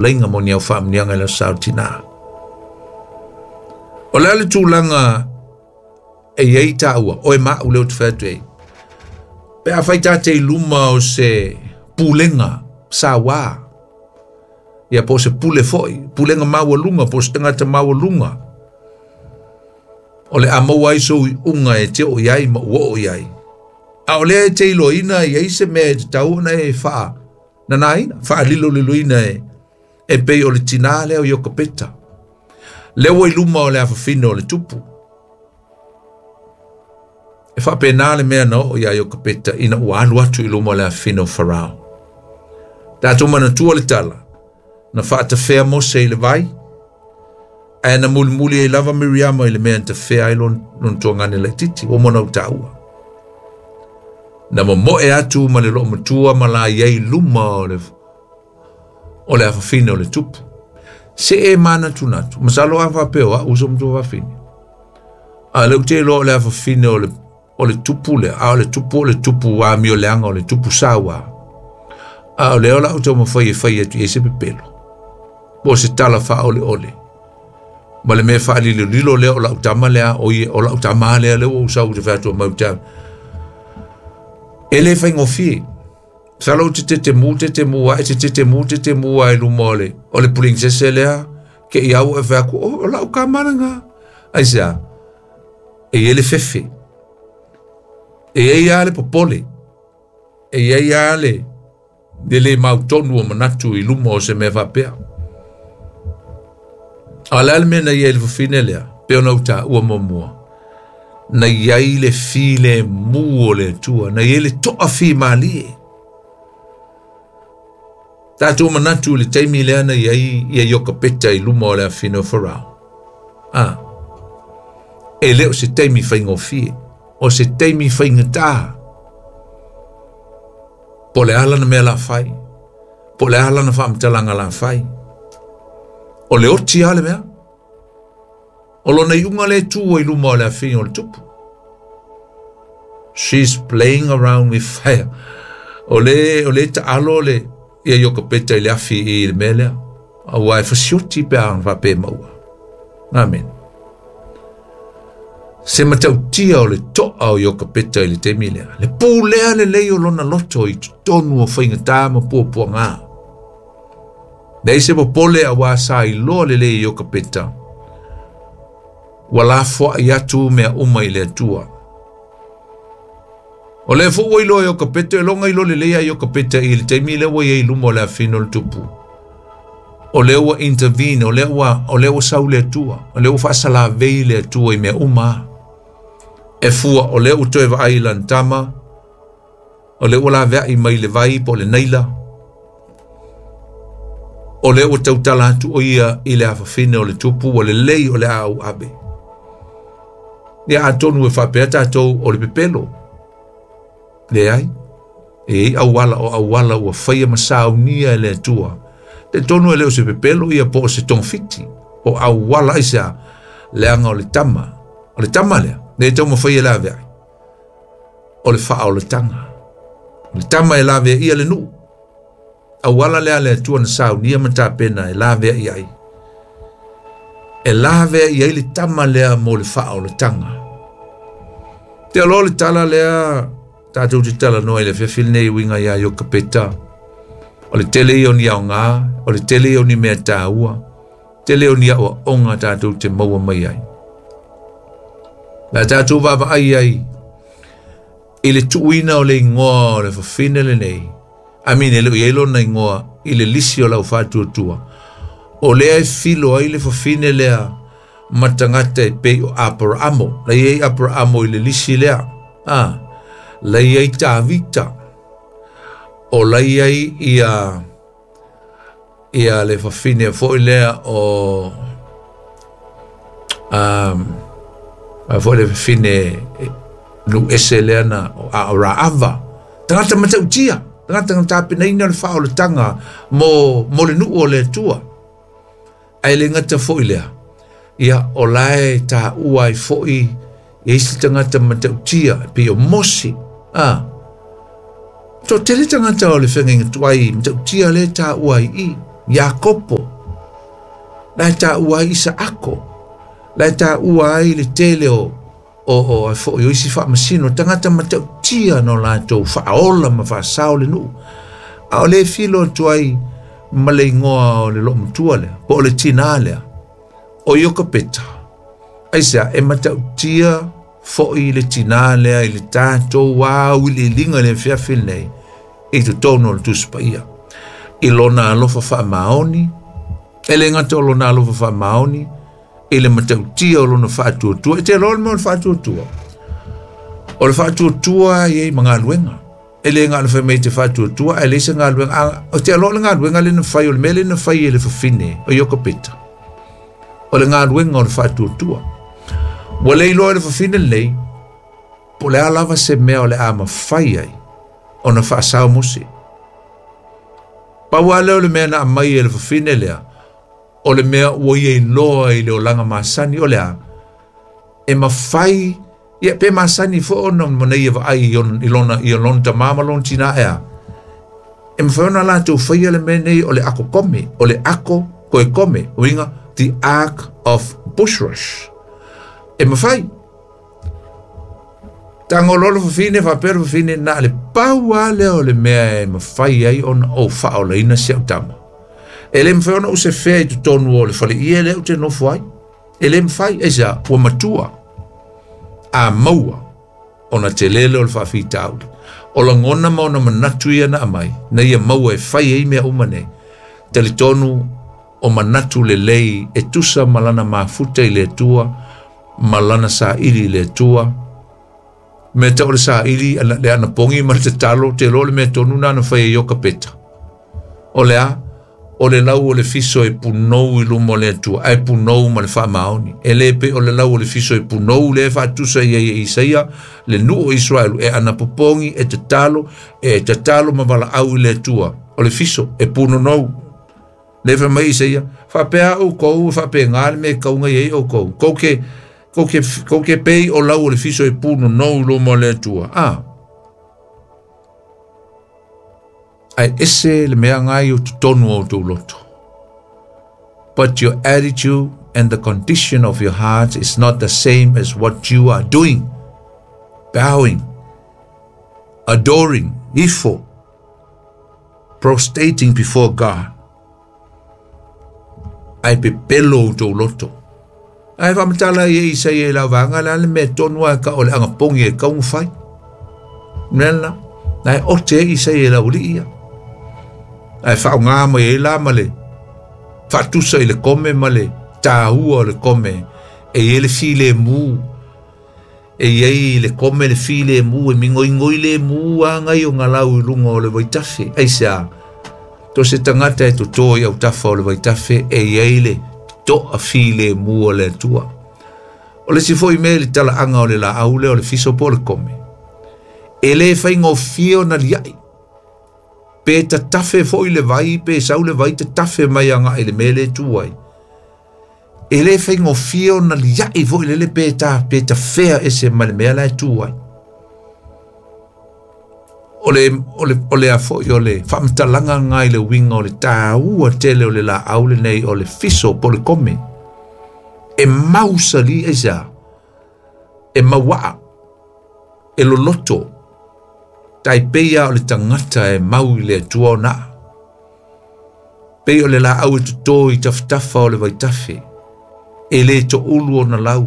Leinga mo ni au faamanuiaga i le Aso Sa o Tinā. O le a le tulaga e i ai taua, oe ma au lea ou te fai atu ai, pe afai ta te i luma o se pulega sauā, ia po o se pule foi, pulega maualuga, po o se tagata maualuga, o le a maua ai sou iuga e te oo i ai ma ua oo i ai. A o lea e te iloaina e i ai se mea e tatau ona e faa nanaina, faaliloliloina e, e pei o le tinā lea o Iokapeta. Lea ua i luma o le afafine o le tupu. E faapena le mea na oo iā Iokapeta ina ua alu atu i luma o le afafine o Farao. Tatou manatua le tala, na faatafea Mose i le vai, ae na mulimuli ai lava Miriama i le mea na tafea ai lona, lona tuagane laitiiti, ua uma ona ou taua. Na momoe atu ma le loomatua ma la i ai luma o le, o le afafine o le tupu. Se e manatunatu, masalo a faapea o au so matua fafine. A le ou te iloa o le afafine o le, o le tupu lea, a o le tupu o le tupu amioleaga o le tupu sauā. A o lea o le a ou taumafai e fai atu i ai se pepelo, po o se tala faaoleole. Ma le mea faalilolilo lea o lau tama lea, o ia, o lau tama lea, lea ua ou sau ou te fai atu mai ou te E le faigofie. Masalo ou te tetemu, tetemu ae, te tetemu, tetemu ae i luma o le, o le princess lea, ke i au e fai atu, oh, o lau tama lena. Aisea? E i ai le fefe. E i ai lava le popole. E i ai lava le, le le mautonu o manatu i luma o se mea faapea. A o le a le mea na i ai le fafine lea, pei ona ou taua muamua, na i ai le filemu o le Atua, na i ai le toafimalie. Tatou manatu i le taimi lea na i ai ia Iokapeta i luma o le afafine o Farao. A, e le o se taimi faigofie, o se taimi faigata. Po o le a lana mea la fai, po o le a lana faamatalaga la fai. O le oti lava le mea. O lona iuga lea e tu ai luma o le afafine o le tupu. She's playing around with fire. O le, o le taalo le, ia Iokapeta i le afi i le mea lea. Aua e fasioti pe a faapea e maua. Amen. Se matautia o le toa o Iokapeta i le taimi lea. Le pulea lelei o lona loto i totonu o faigata ma puapuaga. Leai se popole auā sa iloa lelei e Iokapeta. Ua lafoai atu mea uma i le Atua. O lea foi ua iloa e Iokapeta, e loga iloa lelei a Iokapeta i le taimi lea ua i ai i luma o le afafine o le tupu. O lea ua intervene, o lea ua, o lea ua sau le Atua, o lea ua faasalavei le Atua i mea uma. E fua, o lea ua toe vaai i lana tama, O lea ua laveai mai le vai po o le Naila. O lea ua tautala atu o ia i le afafine o le tupu ua lelei o le a ou ave. Ia atonu e faapea tatou o le pepelo. Leai, e i ai auala o auala ua faia ma saunia e le Atua. Talitonu e le o se pepelo ia po o se togafiti, o auala aisea, leaga o le tama, o le tama lea, lea e taumafai e laveai. O le faaolataga. O le tama e lavea ia le nuu. Auala lea a le Atua na saunia ma tapena e lavea i ai. E lavea i ai le tama lea mo le faaolataga. Te aloa le tala lea tatou te talanoa i le afiafi lenei e uiga iā Iokapeta. O le tele ia o ni aoga, o le tele ia o ni mea taua, tele o ni aoaoga tatou te maua mai ai. La tatou vaavaai ai i le tuuina o le igoa o le fafine lenei, I mean, e le o i ai lona igoa i le lisi o lau faatuatua, o lea e filo ai le fafine lea ma tagata e pei o Aparaamo. La i ai Aparaamo i le lisi lea. Ah, la i ai Tavita. O la i ai ia ia le fafine foi lea o um, a foi le fafine nu ese lea na a o Raava. Tagata matautia, tagata na tapenaina le faaolataga mo, mo le nuu o le Atua. Ae le gata foi lea, ia o la e taua ai foi ia isi tagata matautia e pei o Mose. A, toatele tagata o le feagaiga tuai matautia lea e taua ai i. Iakopo, la e taua ai Isaako, la e taua ai le tele o o isi faamasino, tagata matautia no latou faaola ma faasao le nuu. A o le filo atu ai ma le igoa o le loomatua lea, po o le tinā lea, o Iokapeta. Aisea, e matautia fo'i le tinā lea i le tatou auiliiliga i le afiafi lenei i totonu o le Tusi Paia. I lona alofa faamaoni, e le gata o lona alofa faamaoni, i le matautia o lona faatuatua. E te iloa le mea o le faatuatua. O le faatuatua e i ai ma galuega. E le galo fai mai te faatuatua, ae leai se galuega. O te iloa o le galuega lea na fai, o le mea lea na fai e le fafine o Iokapeta. O le galuega o le faatuatua. Ua le iloa e le fafine lenei, po o le a lava se mea o le a mafai ai ona faasao Mose. Pau lava lea o le mea na aumai e le fafine lea, o le mea ua ia iloa i le olaga masani o le a, e mafai, ia pe masani foi ona ma ia vaai i lona tamā ma lona tinā ea. E mafai ona latou faia le mea nei o le ako kome, o le ako koe kome, uiga, the ark of bushrush. E mafai. Tago loa le fafine, faapea le fafine, na le pau lava lea o le mea e mafai ai ona ou faaolaina si au tama. E le mafai ona ou sefea i totonu o le faleie lea ou te nofo ai. E le mafai, aisea, ua matua. A maua, ona telele o le faafitauli. O lagona ma ona manatu ia na aumai, na ia maua e fai ai mea uma nei. Talitonu o manatu lelei e tusa ma lana mafuta i le Atua, ma lana saili i le Atua. Mea tau o le saili, le anapogi ma le tatalo, te iloa le mea tonu na na fai e Iokapeta. O le a, o le lau o le fiso e punou i luma o le Atua, ae punou ma le faamaoni. E le pe o le lau o le fiso e punou le faatusa ia i Isaia, le nuu o Israelu, e anapopogi, e tatalo ma valaau i le Atua. O le fiso e punonou. Le fai mai Isaia, faapea oukou, faapega le mea e kauga i ai oukou. Kou ke pei o lau o le fiso e punonou i luma o le Atua. Ae ese le mea ngai o totonu o tou loto. But your attitude and the condition of your heart is not the same as what you are doing. Bowing, adoring, ifo, prostrating before God. Ae pepelo o tou loto. Ae faamatala ia Isaia i lau vaega le a le mea tonu a ka o le agapogi e kauga fai. Mea lena, na e ote e Isaia i lau alii ia. Ae faaaoga mai ai la ma le faatusa i le kome ma le tāua o le kome e i ai le filemu. E i ai le kome le filemu e mingoingoi le mu agai o ngalau i luga o le vaitafe. Aisea, to se tagata e totō i autafa o le vaitafe e i ai le to'a filemu o le Atua. O le isi foi mea i le talaaga o le laau lea o le fiso po o le kome. E le faigofie ona liai. Pe tatafe foi le vai, pe sau le vai tatafe mai agai i le mea le tu ai. E le faigofie ona liai foi lele pe tafea ese ma le mea la e tu ai. O le a foi o le faamatalaga ngai le uiga o le tāua tele o le laau lenei o le fiso po o le kome. E mausali aisea, e mauaa, e loloto, tai peia o le tagata e mau i le Atua ona aa. Pei o le laau e totō i tafatafa o le vaitafe, e le toulu ona lau,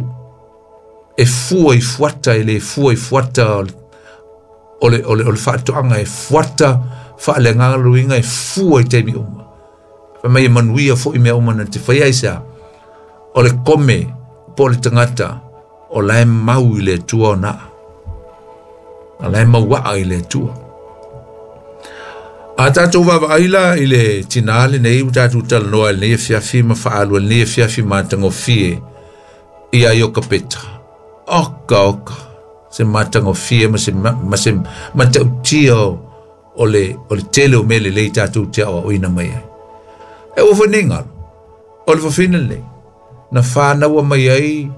e fua i fuata, e le fua i fuata o le faatoaga e fuata faaleagaga luiga e fua i taimi uma. Fai mai e manuia foi mea uma na te fai aisea, o le kome po o le tagata o la e mau i le Atua ona aa. A la e mauaa i le Atua. A tatou vaavaai la i le tinā lenei ua tatou talanoa i lenei afiafi ma faaalua i lenei afiafi matagofie ia Iokapeta. Oka oka, se matagofie ma se matautia o le tele o mea lelei tatou te aoaoina mai ai. E ua foi nei galo, o le fafine lenei, na whānaua mai ai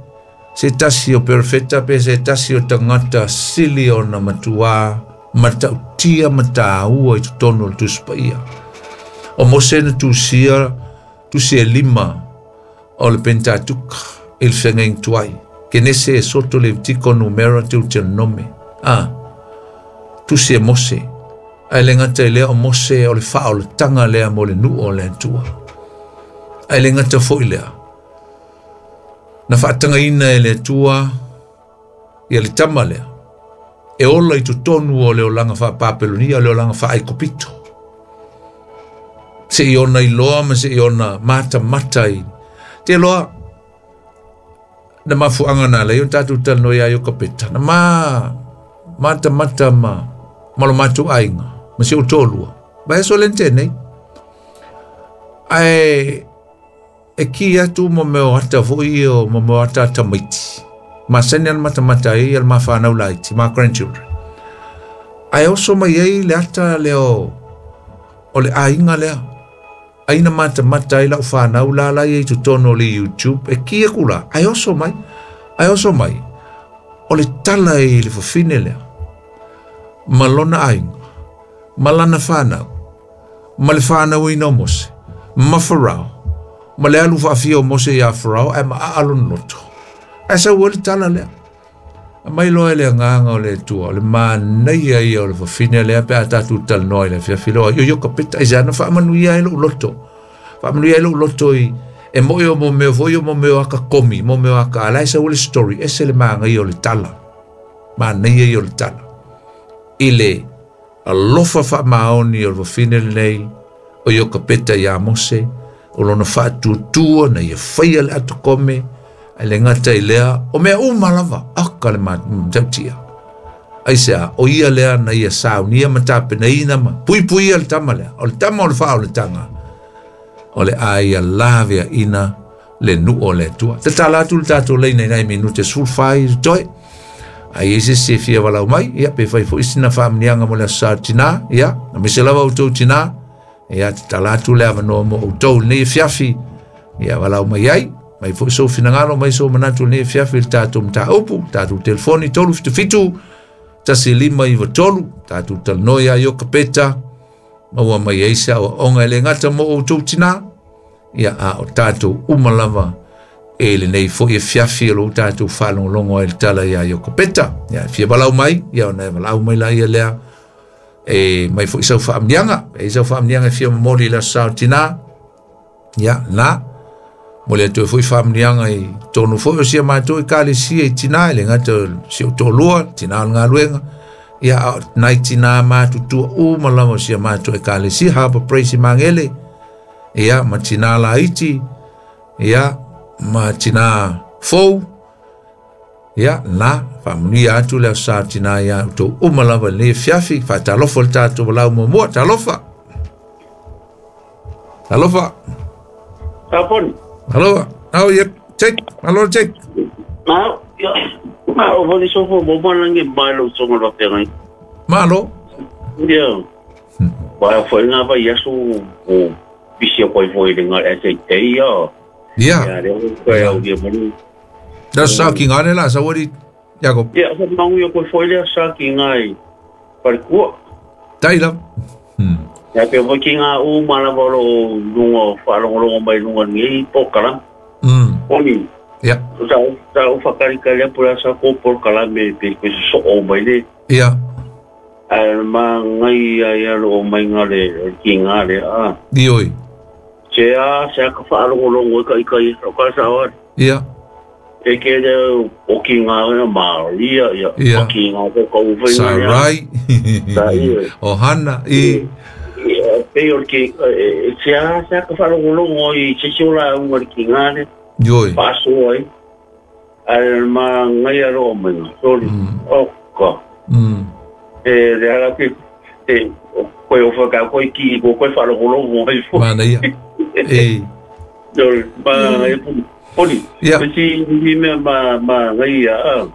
se tasi o perefeta pe se tasi o tagata sili ona matuā matautia ma tāua i totonu o le Tusi Paia. O Mose na tusia tusi e lima o le Pentatuka i le feagaiga tuai. Kenese e soto le tiko numera Deuteronome. A tusi e Mose. Ae le gata i lea o Mose o le faaolataga lea mo le nuu o le Atua. Ae le gata foi lea. Na faatagaina e le Atua ia le tama lea. E ola i totonu o le olaga faapapelonia o le olaga faaikopito. Se i ona iloa ma se i ona matamata i te loa na mafuanga na lei o tātou talanoa ia Iokapeta. Na matamata ma lo mātou aiga, ma si o tōlua. Vai aso le tēnei. Ae e ki atu mo meo ata foi o mo meo ata tamaiti. Ma sene al matamata ai al mawhanau laiti, ma grandchildren. Ae oso mai ei le ata leo o le aiga lea. Aina matamata ai lau whanau la la i totonu o le YouTube. E ki aku la, ae oso mai, ae oso mai. O le tala i le fafine lea. Ma lona aiga, ma lana whanau, ma le whanau ina o Mose, ma Farao, ma le alu whaafia o Mose ia Farao, ae ma aalon loto. Ae sau o le tala lea. A mai loa le anganga o le Atua, o le manaia ia o le fafine lea pe a tātou talanoa i le afiafi loa. Io Iokapeta, i se ana faamanuia ai lou loto. Faamanuia ai lou loto i e moe o mo meo foi o mo meo aka komi, mo meo aka ala e sau le story, ese le maangai o le tala. Manaia ia o le tala. I le alofa faamaoni o le fafine lenei, o Iokapeta ia Mose, o lona faatuatua na ia faia le atokome, ai le gata i lea, o mea uma lava, aka le matautia. Ai sea, o ia lea na ia saunia ma tapenaina ma puipuia le tama lea, o le tama o le faaolataga, o le aia lavea ina le nuu o le Atua. Te tala atu le tātou leina i nai minute 15 toe. Ai e se se fia walau mai, ia pe fai fo isi na faamnianga mo le asa tina, ia, na mise lava o tau tina, ia te tala atu le avanoa mo o tau nei fiafi, ia walau mai ai, mai foi sou finangalo, mai sou manatu nei fiafi le tātou mtāupu, tātou telefoni 377 1593, tātou talanoa ia Iokapeta, maua mai ai se aoaoga e le gata mo outou tinā, ia a o tātou uma lava e lenei foi e fiafi o lou tātou faalogologo ai le tala ia Iokapeta. Ia e fia valau mai, ia ona e valau mai la ia lea, e mai foi sau faamniaga, e sau faamniaga e fia momoli i le aso sa o tinā, ia na, mo le atu e foi faamniaga i tonu foi o sia mātou i kalesia i tinā, e le gata o si o tōlua, tinā o le galuega, ia a nai tinā mātutua uma lava o sia mātou e kalesia, Harbour Praise i Mangele, ia ma tinā laiti, ia ma tinā fou, ia na, faamanuia atu le aso sa tinā ia outou uma lava i lenei fiafi, faatalofa le tātou walau muamua, talofa. Talofa. Taponi. Aloha. Oh, yep. Take. Aloha, take. Ma, ya, ma, o voli sofo mo mana ngi mai lo songa lo pengai. Malo. Ya. Ba fo nga ba yasu o bisi ko fo ile nga ese te ya. Ya. Ya, le ko ya o dia mani. Da sa ki ngane la sa wori Jacob. Ya, sa mangu yo ko fo ile sa ki ngai. Par ku. Tai la. Ya pe mo ki nga u mala bolo lungo fa longo mai lungo ni pokala. Oni. Ya. Sa sa u fakari kale pura sa ko pokala me pe ko so o mai le. Ya. Al ma ngai ya lo mai ngale ki ngale a. Dioi. Se a se ka fa longo longo ka ka ka ka sa wa. Ya. E ke le o ki nga ma ia ya o ki nga ko ko u Sarai. Ohana i pe o ki se a se ka fa longo longo i se sola unga ki ngale. Dioi. Paso ai. Al ma ngai ro mai sorry. O ka. E le ala ki te ko o fa ka ko ki ko ko fa longo longo ai fo. Mana ia. E. Dol ba ngai poli. Si ni me ma ma ngai a.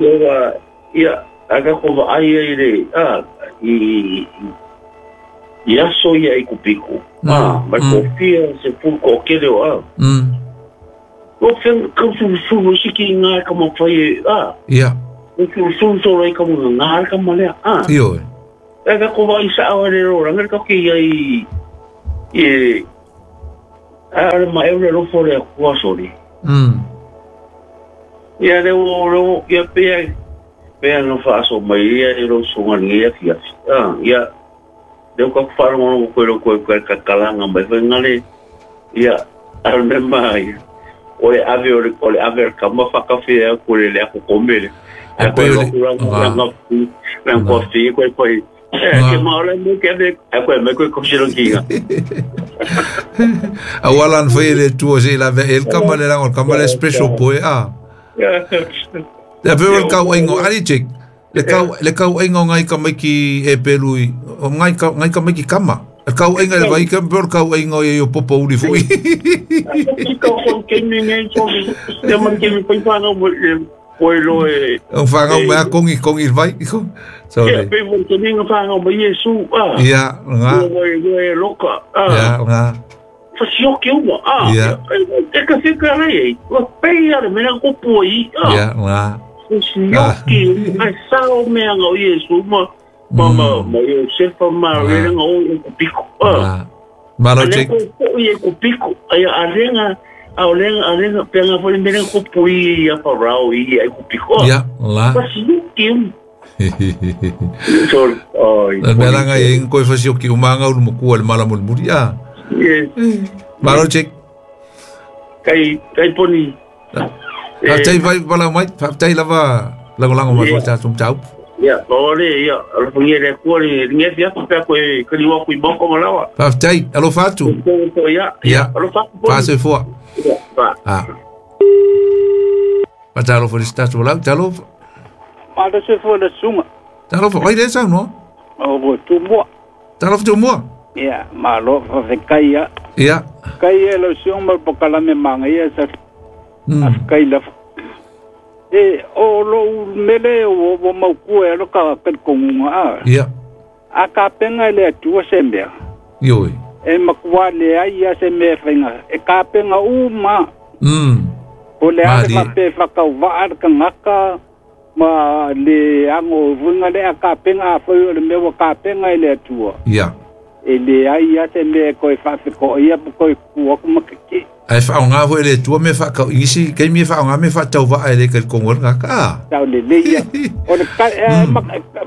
Ia ia aga ko va ai ai le a i ia so ia i kupiko. Ah, ma ko fia se pu ko ke le a. O fen ko su su si ki nga ka mo fai a. Ia. O su su so lai ka mo nga ka mo le a. Io. E ka ko vai sa o le ro nga ka ki ai E a ma e le lofo le kua sori. Ia le o ia pe pe no fa so mai ia e lo songa ni ia fia. Ia le ko fa ro ko lo ko ka kalanga mai fa ngale ia a me mai. O le ave o le ave ka ma fa ka fe ko le le ko komele. A ko lo ko la ko fi ko ko ke ma le mo ke ave a ko me ko ko silo kinga. A wala an foi le tu se la ve el kama le la kama le special boy a. Le pe o kau ingo ali check. Le kau ingo ngai ka mai ki e pelui ngai ka mai ki kama. Kau inga le vai ka pe kau ingo e o popo uli foi. Ki ko ko ke ni ngai so le man ke mi pa no poi lo e o whangau mea kongi kongi vai. So le pe mo ke ni whangau mai Yesu a. Ia nga. Ia loka a. Ia nga. Fasioki uma a. Ia. E ka fika rei. Wa pe ia le mea ko poi a. Ia nga. Fasioki ai sao mea ngau Yesu ma ma ma Yosefa ma le ngau o piko a. Malo check. Ko ia ko piko ai arenga arenga penga foi mena ko pui a parau i ai ko piko. Ia la. Fasioki. Sorry. Ai. Mela ngai en koi fasioki umanga ulu mokua le mala mulmuri a. Yes. Malo check. Kai poni. Tai vai bala mai, tai lava lango mai ko ta tum tau. Ia, ole ia, alfangia le ko le nge fia pa ko e kali wa ku boko malawa. Tai, alo fatu. Ia, ia, alo fatu. Pase fo. Ba. Ah. Patalo fo sta tu la, talo. Malo se fo le sunga. Talo fo, oi le sa no. O bo tu mo. Talo fo tu mo. Ia, malo fo kai ia. Ia. Kai e lo sunga mo kala me manga ia sa. Kai la. E o lo mele o o mau e lo ka ka konga a. Ia. A ka penga le tu se mea. Ioi. E makua le ai ia se mea whainga. E ka penga uma. O le ale ma pe whakau waa ka ngaka ma le ango vunga le a ka penga a whai o le mea wa ka penga e le atua. Ia. E le ai ia se mea koe whawhiko ia po koe kuaku makiki. Ai whaonga fo ele tua me whakau isi, kei me whaonga me whatau waa ele kai kongo ngaka. Tau le le ia. O le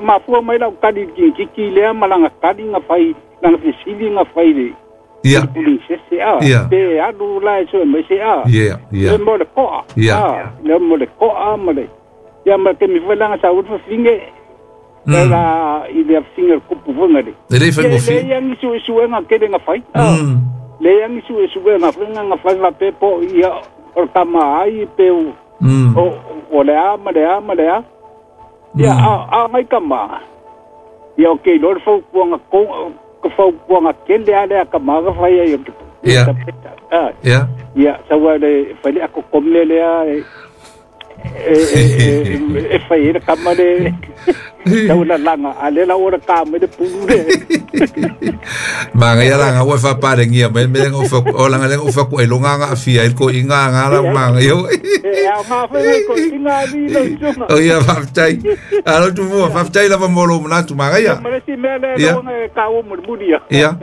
mafua mai lau kari kiki lea malanga kari nga whai, langa fisili nga whai le. Ia. Pulisese a. Ia. Pe anu la e soe mai se a. Ia, ia. Le mo le koa. Ia. Le mo le koa mo le. Ia ma ke mi whailanga sa utu finge. La i le finge kupu vunga le. Le le whango fi. Le ia ngisu isu e nga kere nga whai. Le yangi su su nga fenga nga fa pe po ia o kama ai pe o o le a ma le a ma le a ia a mai kama ia o ke lor fo ku nga ko ko fo ku nga ke le a le kama ga fa ia ia ia ia sa wa le fa le ko komle le a e fa ia kama le tau la langa a le la ora ka me le pulu le manga ia langa ua whaparengia mai me o fa o langa le o fa ko elonga nga afia il ko inga nga la manga yo e a ma fa ko inga ni lo tsunga o ia fa tai alo tu mo fa tai la mo lo mna tu manga ia ma si me le lo nga ka o mo mudia ia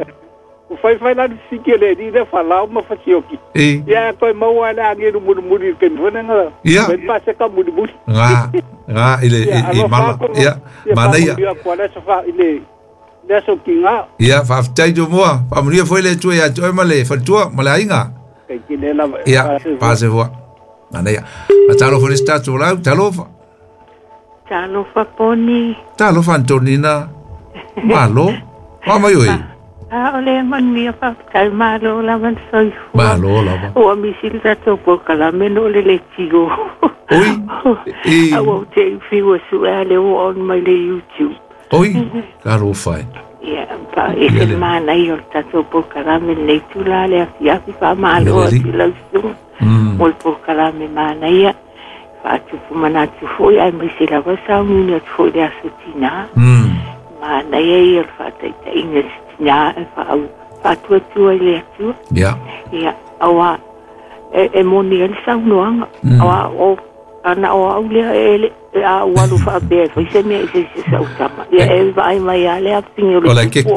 o fai fai la sike le di le fa la ma fa sioki ia ko mo wala ngi lu muri ke mfona nga me pase ka muri muri nga nga ile i mala ia mana ia ile le so kinga ia fa tai jo mo fa muri foi le tu ia to male fa tu mala inga ia pase fo mana ia talo fo sta tu la talo fa talo fa poni talo fa Antonina malo mama yo A ole man mia fa kai malo la man soi fu malo la ba o mi silta to po kala meno le le tigo oi e a o te fi o su ale o on my le YouTube oi karo fai ia pa e se mana io ta to po kala me le tu la le afia fi fa malo ti la su mol po kala me mana ia fa tu fu mana tu fu ai mi sila va sa ni tu le asutina mana ia ia fa ta inga nya fa fa tu tu le tu ya ya awa e moni el sa no awa o ana o au le a ua faapea e fai se mea i se isi sau tama. Ia e vaai mai a le afifine o le tupu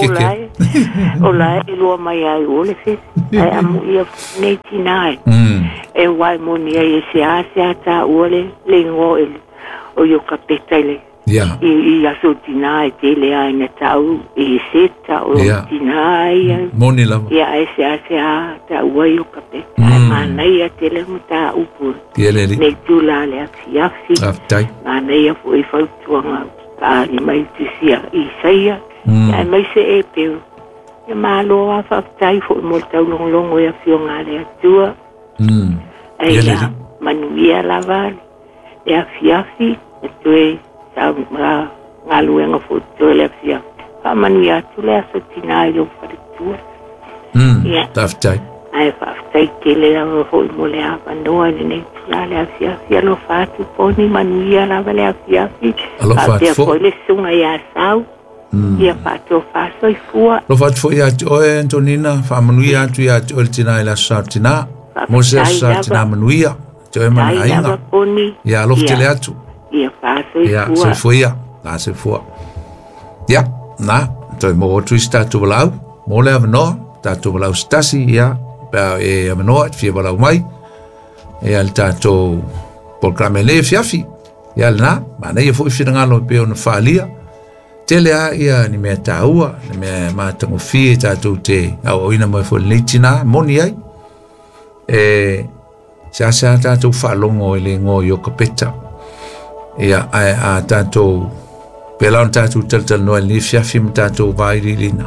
o la e lua mai ai o le fefe. Ae amuia nei tinā e. E wai moni ai e se a se a tā ua le igoa o Iokapeta i le i aso tinā e tele ai na tau i seta o tinā ia. Moni lava. Ia e se a se a tā ua Iokapeta. Ai manaia tele mo tā upu. Nei tūla le afiafi. Manaia foi fautuaga paali mai tusia Isaia. Ia mai se e peu. Ia malo a faafetai foi mo le taulogologo e afioga a le Atua. Ai ia manuia lava le afiafi e toe galuega foi toe le afiafi. Faamanuia atu le aso tinā i lou faletua. Faafetai. Ae faafetai tele lava foi mo le avanoa i lenei tula le afiafi. Alofa atu poni manuia lava le afiafi. Alofa atu foi. Faapea foi le susuga ia Sau. Ia faatofa soifua. Alofa atu foi ia te oe Antonina, faamanuia atu ia te oe le tinā i le aso sa tinā. Mo se aso sa tinā manuia. Te oe ma le aiga. Ia alofa tele atu. Ia faasoifua. Ia soifua ia. La soifua. Ia, na, toe mo atu i se tatou valaau. Mo le avanoa, tatou valaau se tasi, ia, pea e avanoa, e fia valaau mai. Ia le tatou polokalame le fiafi. Ia lena, manaia foi finagalo e pei ona faaalia. Tele a ia ni mea tāua, ni mea matagofie tatou te auauina mai foi lenei tinā, moni ai. E se ase a tatou faalogo i le igoa o Iokapeta. Ia, ae a tatou, pela ona tatou talatalanoa i lenei fiafi ma tatou vailiiliina.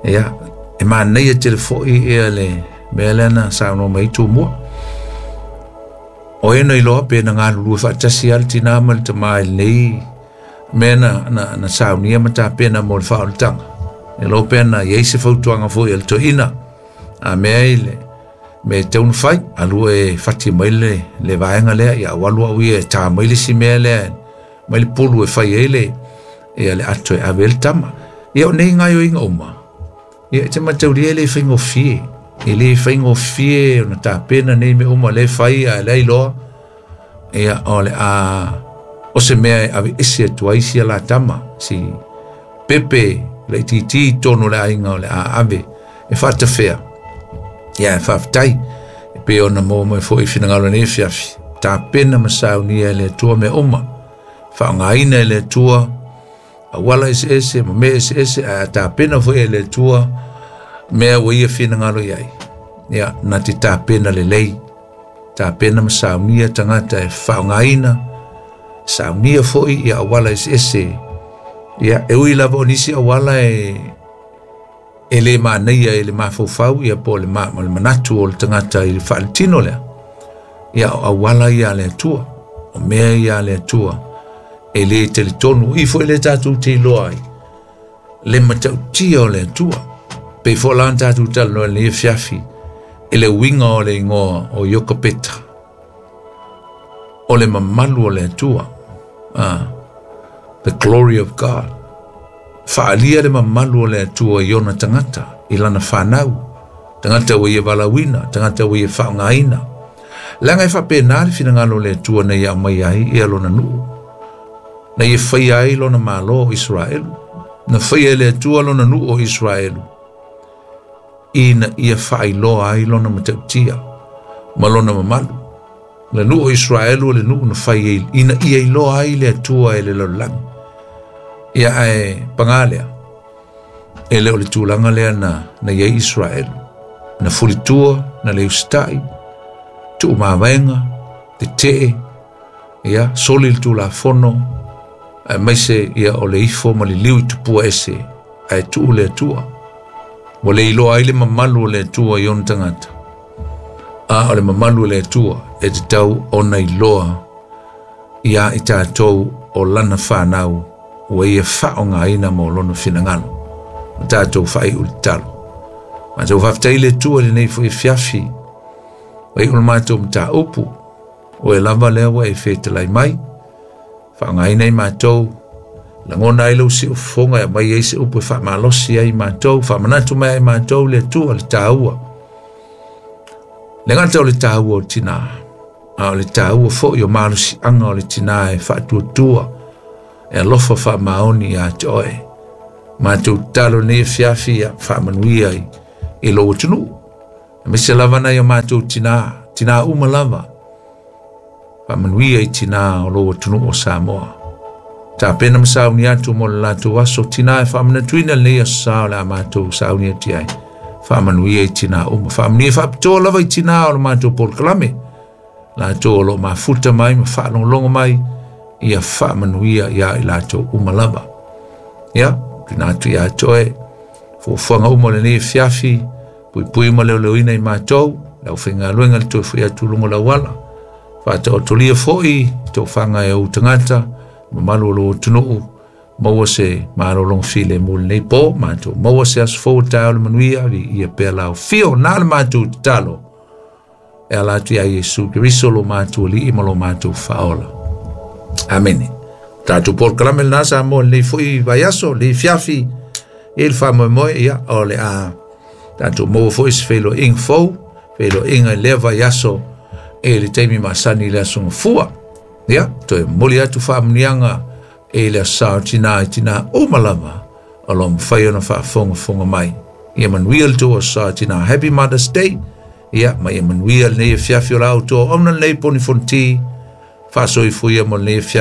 Ia, e manaia tele foi ia le mea lea na saunoa mai ai Tumua. O e na iloa pe na galulue faatasi a le tinā ma le tamā i lenei mea na saunia ma tapena mo le faaolataga. E lo pea na iai se fautuaga foi a le toeaina. A mea ai le me tau na fai, alu e fati mai le vaega lea, ia au alu au ia e tā mai le si mea lea, mai le pulu e fai ai le, ia le ato e ave le tama. Ia o nei gaioiga uma, ia e te mataulia e le faigofie. E le faigofie ona tapena nei mea uma le fai a le iloa. Ia o le a o se mea e ave ese atu ai sia la tama, si pepe le titi tonu le aiga o le a ave e faatafea. Ia e faafetai e pei ona maua mai foi finagalo nei fiafi. Tapena ma saunia e le Atua mea uma. Faaaogaina e le Atua auala eseese ma mea eseese, ae a tapena foi e le Atua mea ua ia finagalo i ai. Ia na te tapena lelei. Tapena ma saunia tagata e faaaogaina. Saunia foi ia auala eseese. Ia e ui lava o nisi auala e le manaia e le mafaufau ia po le manatu o le tagata i le faaletino lea. Ia o auala ia a le Atua, o mea ia a le Atua e le talitonu i foi le tatou te iloa ai le matautia o le Atua. Pei foi la ona tatou talanoa i lenei afiafi i le uiga o le igoa o Iokapeta, o le mamalu o le Atua, the glory of God. Faalia le mamalu o le Atua i ona tagata, i lana whanau, tagata ua ia valaauina, tagata ua ia faaaogaina. Leaga e faapena le finagalo o le Atua na ia aumai ai ia lona nuu, na ia faia ai lona malo o Israelu, na faia e le Atua lona nuu o Israelu, ina ia faailoa ai lona matautia ma lona mamalu. Le nuu o Israelu o le nuu na fai ai, ina ia iloa ai le Atua e le lalolagi. Ia ae pagā lea, e le o le tulaga lea na iai Israelu. Na fulitua, na le usitai, tuumavaega, tetee, ia, soli le tulafono, ae maise ia o le ifo ma le liu i tupua ese, ae tuu le Atua. Ua le iloa ai le mamalu o le Atua i ona tagata. A o le mamalu o le Atua e tatau ona iloa ia i tatou o lana whanau ua ia faaaogaina mo lona finagalo. Ma tatou faaiu le tatalo. Matou faafetai le Atua i lenei foi fiafi. Ua iu le matou mataupu. O e lava lea ua e fetalai mai. Faaaogaina i matou. Lagona ai lau siufofoga e aumai ai se upu e faamalosi ai matou. Faamanatu mai ai matou le Atua le tāua. Le gata o le tāua o tinā. A o le tāua fo'i o malosiaga o le tinā e faatuatua e alofa faamaoni iā te oe. Matou tatalo nei afiafi ia faamanuia i, i lou atunuu. Aemaise lava nai o matou tinā, tinā uma lava. Faamanuia i tinā o lou atunuu o Samoa. Tapena ma sauni atu mo le latou aso tinā e faamanatuina lenei aso sa o le a matou sauni atu ai. Faamanuia i tinā uma. Faamanuia faapitoa lava i tinā o le matou polokalame. Latou o lo o mafuta mai ma faalogologo mai ia faamanuia iā i latou uma lava. Ia, tuuina atu ia te oe fuafuaga uma o lenei afiafi, puipui ma leoleoina i matou, le aufaigaluega le toe foi atu i luga o le auala. Faataotolia foi tofaga e ou tagata, mamalu o lou atunuu, maua se malologa filemu i lenei po, matou maua se aso fou o taeao le manuia, viia pea lau afio, na le matou tatalo, e ala atu ia Iesu Keriso lo matou Alii ma lo matou Faaola. Amene. Tatou polokalame lena Samoa lenei foi vaiaso, lenei afiafi, e le faamoemoe, ia, o le a tatou maua foi se feiloaiga fou, feiloaiga i lea vaiaso e le taimi masani i le aso Gafua. Ia, toe momoli atu faamanuiaga e le aso Sa o Tinā i tinā uma lava o lo o mafai ona faafogafoga mai. Ia manuia le tou aso Sa o Tinā. Happy Mother's Day. Ia, ma ia manuia lenei afiafi o la outou auauna lenei Poni Fonoti. Faasoifua ia mo lenei afiafi.